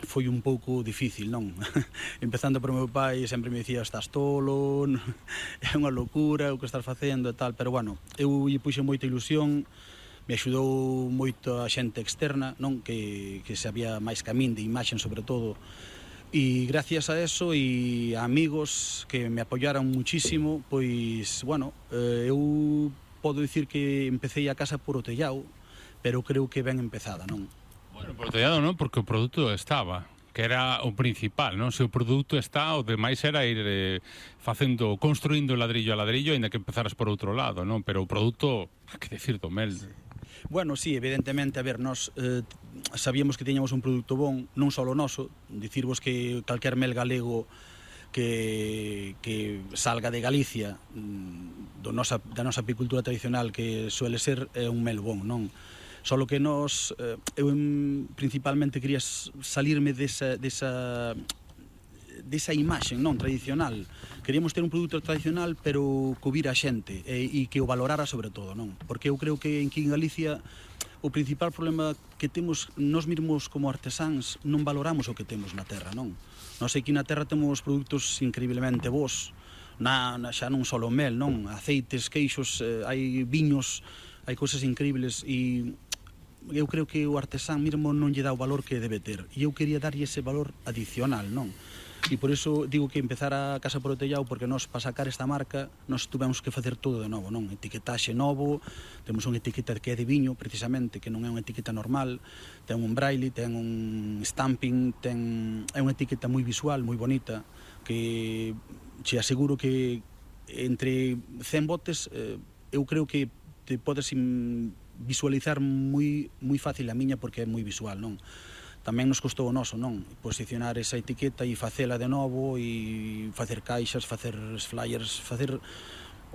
foi un pouco difícil, non? Empezando por meu pai, sempre me dicía estás tolo, é unha locura o que estás facendo e tal, pero bueno, eu lle puxe moita ilusión, me axudou moito a xente externa, non? Que sabía máis que a min de imaxen sobre todo, e gracias a eso e a amigos que me apoyaron muchísimo, pois, bueno, eu podo dicir que empecé a casa por o tellao, pero creo que ben empezada, non? Bueno, por tellado non, porque o produto estaba, que era o principal, non? Se o produto está, o demais era ir construindo ladrillo a ladrillo, ainda que empezaras por outro lado, non? Pero o produto, que decir do mel? Bueno, sí, evidentemente, a ver, nós sabíamos que tiñamos un produto bon, non só o noso, dicirvos que calquer mel galego que salga de Galicia, da nosa apicultura tradicional, que suele ser un mel bon, non? Solo que nós, eu principalmente quería salirme desa imaxen, non, tradicional. Queríamos ter un produto tradicional, pero que o vira a xente e que o valorara sobre todo, non? Porque eu creo que aquí en Galicia o principal problema que temos nós mesmos como artesáns, non valoramos o que temos na terra, non? Nós aquí na terra temos produtos increíblemente bons, xa non só o mel, non? Aceites, queixos, hai viños, hai cousas increíbles e eu creo que o artesán mesmo non lle dá o valor que debe ter e eu quería darlle ese valor adicional, non? E por iso digo que empezar a Casa por o Tellao, porque nós, para sacar esta marca, nós tuvemos que facer todo de novo, non? Etiquetaxe novo, temos unha etiqueta que é de viño, precisamente, que non é unha etiqueta normal, ten un braille, ten un stamping, é unha etiqueta moi visual, moi bonita, que che aseguro que entre 100 botes, eu creo que te podes visualizar moi fácil a miña, porque é moi visual, non? Tamén nos costou o noso, non? Posicionar esa etiqueta e facela de novo e facer caixas, facer flyers, facer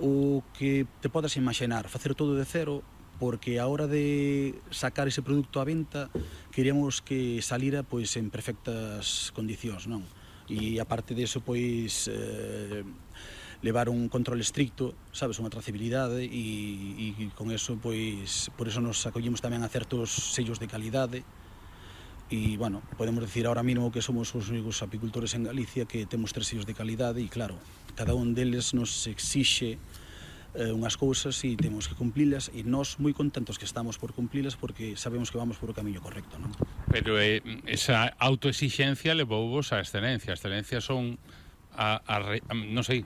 o que te podas imaginar, facer todo de cero, porque a hora de sacar ese produto á venta queríamos que salira pois en perfectas condicións, non? E aparte diso, pois levar un control estricto, sabes, unha trazabilidade e con eso, pois, por eso nos acollimos tamén a certos sellos de calidade. E, bueno, podemos decir ahora mesmo que somos os únicos apicultores en Galicia que temos 3 sellos de calidade e, claro, cada un deles nos exixe unhas cousas e temos que cumplilas e nós moi contentos que estamos por cumplilas porque sabemos que vamos por o camiño correcto, non? Pero esa autoexixencia levouvos á excelencia. A excelencia son non sei,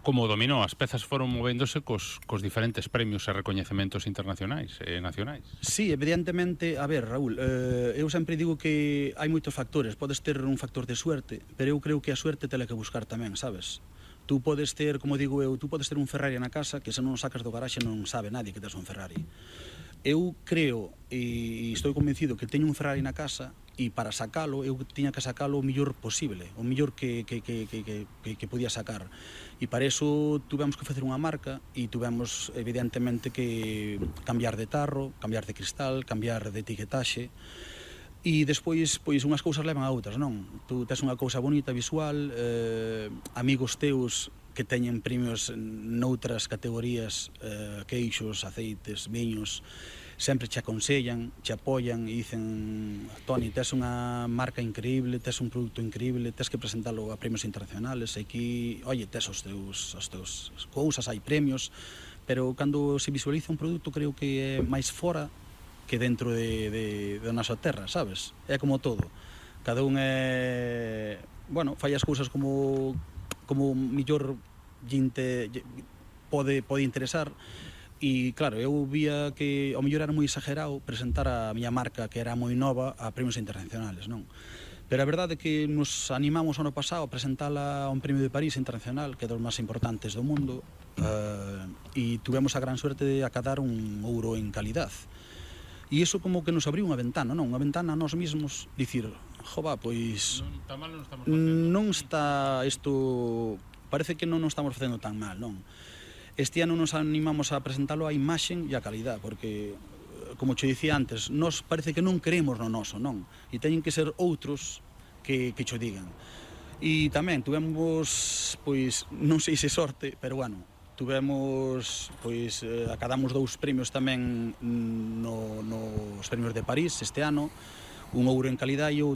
como dominó, as pezas foron movéndose cos diferentes premios e recoñecementos internacionais e nacionais. Sí, evidentemente, a ver, Raúl, eu sempre digo que hai moitos factores, podes ter un factor de suerte, pero eu creo que a suerte tela que buscar tamén, sabes? Tú podes ter, como digo eu, tú podes ter un Ferrari na casa que se non o sacas do garaxe non sabe nadie que tes un Ferrari. Eu creo e estou convencido que teño un Ferrari na casa e para sacalo, eu tiña que sacalo o mellor posible, o mellor que podía sacar. E para iso tuvemos que facer unha marca e tuvemos, evidentemente, que cambiar de tarro, cambiar de cristal, cambiar de etiquetaxe. E despois, pois, unhas cousas levan a outras, non? Tú tes unha cousa bonita, visual, amigos teus que teñen premios noutras categorías, queixos, aceites, viños, sempre che aconsellan, che apoian e dicen: Toni, tes unha marca increíble, tes un produto increíble, tes que presentalo a premios internacionales, e aquí, oye, tes os teus cousas, hai premios, pero cando se visualiza un produto creo que é máis fora que dentro da nosa terra, sabes? É como todo. Cada un bueno, fai as cousas como mellor pode interesar. E, claro, eu vía que ao mellor era moi exagerado presentar a miña marca, que era moi nova, a premios internacionales, non? Pero a verdade é que nos animamos ano pasado a presentala a un premio de París internacional, que é dos máis importantes do mundo, e tuvemos a gran suerte de acadar un ouro en calidad. E iso como que nos abriu unha ventana, non? Unha ventana a nós mesmos, dicir, jova, pois non está isto, parece que non nos estamos facendo tan mal, non? Este ano nos animamos a presentalo a imaxen e a calidad, porque, como che dicía antes, nós parece que non creemos no noso, non? E teñen que ser outros que cho digan. E tamén tuvemos, pois, non sei se sorte, pero, bueno, tuvemos, pois, acadamos 2 premios tamén nos premios de París este ano, un ouro en calidad e outro